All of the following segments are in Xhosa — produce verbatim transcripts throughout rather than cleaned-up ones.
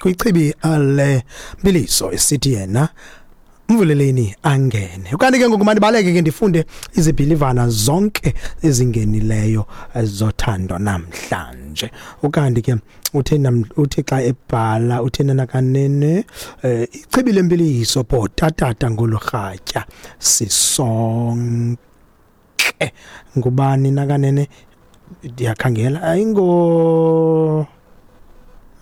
Kwichibi le Mbiliso esithi yena mvuleleni angene. Ukanti ke ngoku mandibaleke ke ndifunde izibhilivana zonke ezingenileyo zothando namhlanje. Ukanti ke uthe uthe xa ebhala uthe nakanene eh, ichibi lempiliso bhota tata ngolurhatya sisonke. Ngubani nakanene ndiyakhangela ayingo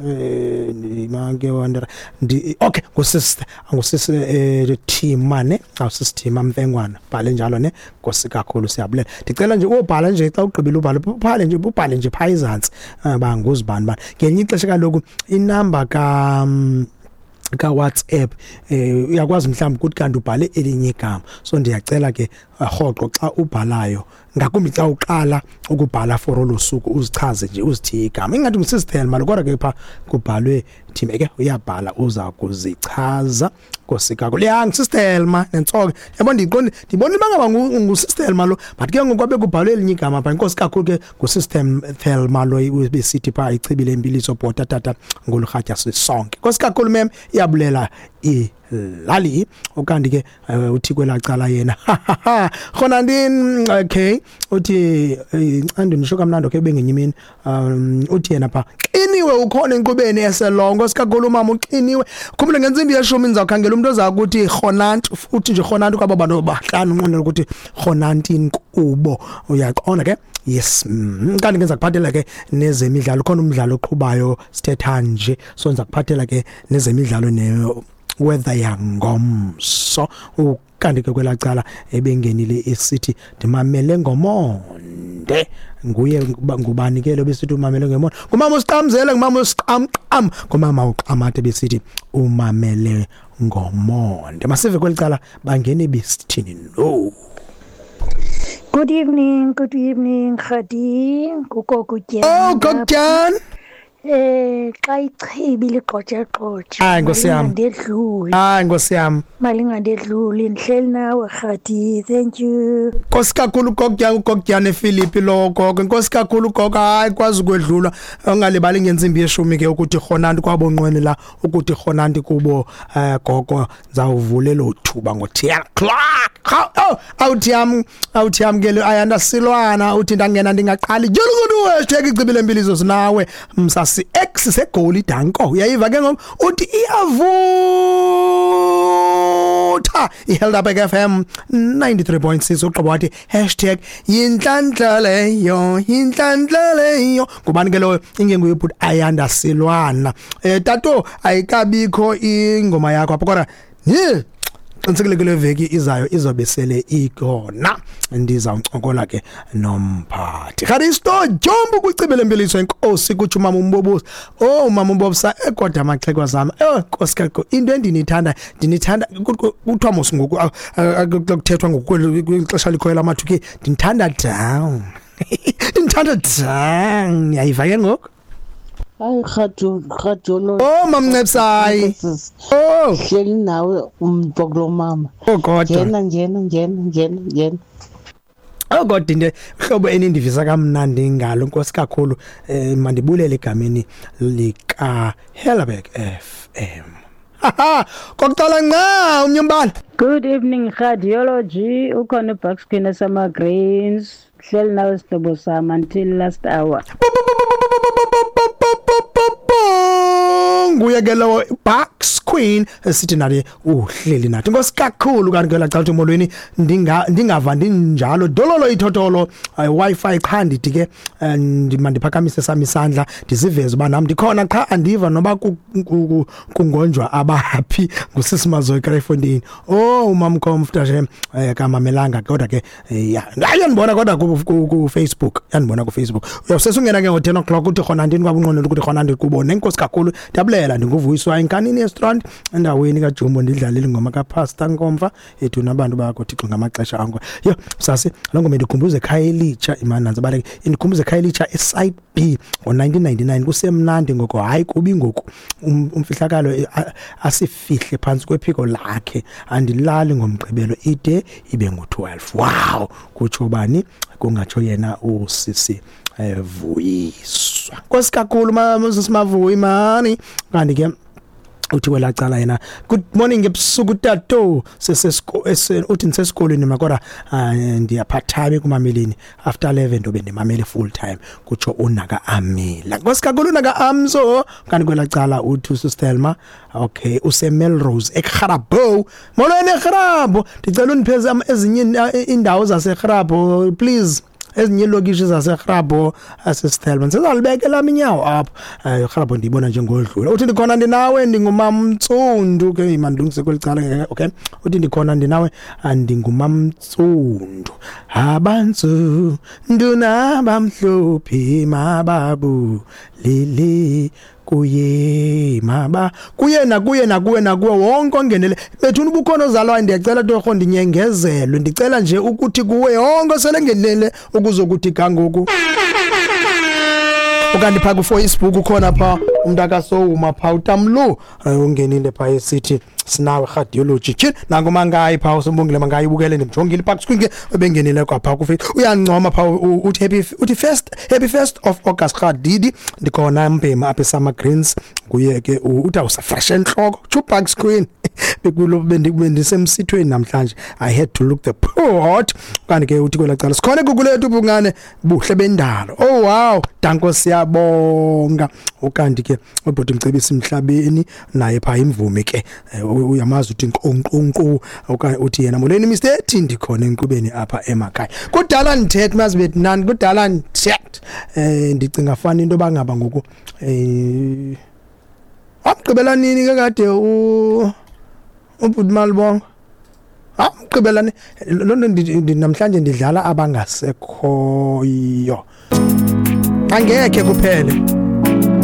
eh manke wonder ndi okay ngusisister ngusisi eh Thima ne awusisithima Mfengwana bhale njalo ne Nkosi kakhulu siyabulela. Ndicela nje ubhala nje xa ugqibile ubhala ubhale nje ubhale nje pha izantsi banguzibani bani ngelinye ixesha kaloku inamba ka ka WhatsApp eh uyakwazi mhlawumbe ukuthi kanti ubhale elinye igama. So ndiyacela ke rhoqo xa ubhalayo ngakumbi xa uqala ukubhala for olusuku uzichaze nje uzithiye igama ingathi ngusisister malo kodwa ke pha kubhalwe Thima ke uyabhala uza kuzichaza. Nkosi kakhulu ya ngusisister ma nentsoke yabo ndiqonde ndibona bangaba ngusisister malo but ke ngoku kwabe kubhalwe elinye igama pha. Inkosi kakhulu ke ngusisister Thelma lo besithi pha ichibile impiliso bhota tata ngolurhatya sisonke. Nkosi kakhulu mem iyabulela ilali. Ukanti ke uthi kwelacala yena khona ndini okay uthi ncandi nisho kamnandi okay bengenye imini um uthi yena pha xiniwe ukhona enkqubeni eselongo sikakhulu mama uxiniwe. Khumbule ngentsimbi yeshumi ndizawukhangela umuntu oza kuthi khonantu futhi nje khonantu kwaba bantu bahlanu unqonela ukuthi khonanti inkubo uyaqonda ke. Yes, kanti ngenza kuphathela ke nezemidlalo khona umdlalo oqhubayo sithetha nje so ngiza kuphathela ke nezemidlalo ne weather yangomso. Ukanti ke kwelacala ebengenile esithi ndimamele ngomonde nguye ngubani ke lo besithi umamele ngomonde ngumama usiqamzele ngumama usiqamqam ngumama uqamate besithi umamele ngomonde. Masive kwelicala bangene besithini no. Good evening, good evening, Khadi. Kugogo Oh, Gogjan. Eh xa ichibi ligqotshe-gqotshe. Hayi Nkosi yami. Ndedlule. Hayi Nkosi yami. Malingandedluli ndihleli nawe Khadi. Thank you. Nkosi kakhulu Gogjan, uGogjan ePhilippi lo gogo. Nkosi kakhulu gogo, hayi kwazi ukwedlula. Ungalibali ngentsimbi yeshumi ke ukuthi khonanti kwabonqweni la ukuthi khonanti kubo eh gogo ndizawuvula lo thuba ngo ten o'clock. Oh, awuthi yam awuthi yam ke ayanda silwana uthi ndangena ndingaqali. Julukudu hashtag icibile impiliso sinawe msasi X segoli danko uyayiva ke ngoku uthi iyavutha iHelderberg F M ninety-three point six uqobo wathi hashtag yinhlanhla leyo yinhlanhla leyo ngubani ke loyo ingenguye ubhuti Ayanda Silwana eh tato ayikabikho ingoma yakho apho kodwa ni qinisekile kule veki izayo izobe sele ikhona ndizawuncokola ke nomphathi Kharisto Jombo kwicibele impiliso enkosi kuthi umama umbobusa oh umama umbobisa ekodwa amaxhekwa zami oh Nkosi kakhulu into endinithanda ndinithanda kuthiwa mos ngoku kuthethwa ngokwexesha likhoyo lamathuki ndinithanda down ndinithanda down yayiva ke ngoku. Hayi Khadu Khadu Oh mamncepsayi oh hleli nawe umntu kulo mama. Oh God ngena ngena ngena ngena ngena Oh God into hlobo enindivisa kamnandi ngalo Nkosi kakhulu eh mandibulele egameni lika Helderberg F M. Haha kokuqala nqa umnyombala. Good evening Radiology ukhona uBucks Queen sama Greens hleli nawe sihlobo sami until last hour. Nguye ke lowo Bucks Queen sithi naye uhleli nathi. Nkosi kakhulu kanti ke la xa uthi molweni ndinga ndingava ndinjalo dololo ithotolo wifi qha ndithi ke ndimandiphakamise sami isandla ndiziveze uba nami ndikhona qha andiva noba kungonjwa abaphi ngusisimazo eKraaifontein. Oh umamkhomfta nje kamamelanga kodwa ke ya ayandibona kodwa ku Facebook yandibona ku Facebook uyawusesungena ke ngo ten o'clock uthi khona ndini kwabunqonela ukuthi khona ndikubone. Enkosi kakhulu ndiyabulela ndinguvuyiswa enkanini restaurant endaweni kaJumbo ndidlalela ingoma kaPastor Nkomfa ethu nabantu bakho Thixo ngamaxesha ango. Yo sasi lo ngoma ndikhumbuze eKhayelitsha imananzi baleke indikhumbuze eKhayelitsha eSite B ngo nineteen ninety-nine kusemnandi ngoko hayi kubi ngoku umfihlakalo asifihle phansi kwephiko lakhe andilali ngomgqibelo ide ibe ngu twelve. Wow kutsho bani kungatsho yena usisi Vuyiswa. Nkosi kakhulu mama Simavuyi mani kanti ke Uthi kwelaa cala yena, good morning ebusuku tato, sesesiko uthi ndisesikolweni mna kodwa ah, ndiyaphathame ekumameleni after eleven ndobe ndimamele full time, kutsho unaka Amila. Nkosi kakhulu unaka Amso. Kanti kwelaa cala uthi uSistelma, okay, useMelrose eKgarabo. Molweni eKgarabo, ndicela undipheze am- ezinye iinda- iindawo zaseKgarabo please, ezinye iilokishi zaseKgarabo asistelma, ndisezalibeka elam inyawo apho. um Rharabo ndiyibona njengodlula. Uthi ndikhona ndinawe, ndingumamtsundu ke, mandilungise kweli cala ke, okay. Uthi ndikhona ndinawe, ah, ndingumamtsundu, abantsundu nabamhlophe mababu lili kuye maba kuye nakuye nakuwe nakuwe wonke ongenele bethuna ubukhona ozalwayo. Ndiyacela torho ndinyengezelwe, ndicela nje ukuthi kuwe wonke oselengenele ukuzokuthi gangoku. Ukanti phaa kuFacebook ukhona phaa umntu akasowuma phaa utamlu, eh, ungenile phaa esithi sinawe radiology tyhini nanku Mangayi phaa uSimbongile Mangayi ubukele, ndimjongile phaa kuscreen ke ebengenile kwaphaa kuFacebook, uyancoma phaa u- uthi happy, uthi first happy first of August Radidi, ndikhona mbhema apha eSummer Greens. Nguye ke u- uthi awusafresh entloko chupak screen bekulo bendi- bendisemsithweni namhlanje, I had to look the pot. Kanti ke uthi kwelaa cala sikhona eGugulethu bungane buhle bendalo. Oh wow, danko siyabonga. Ukanti ke ubhuti Mcebisi Mhlabeni naye phaa imvumi ke, eh, u- uyamazi uthi nkqu okanye uthi yena molweni Mister T, ndikhona enkqubeni apha emakhaya. Kudala ndithethe mazi bethi nani, kudala ndithethe eh ndicinga fana into bangaba ngoku eh wamgqibela nini ke kade u ubhuti Malibongo, amgqibela ni loo nto ndi- ndi- namhlanje ndidlala abangasekhoyo, angekhe kuphele.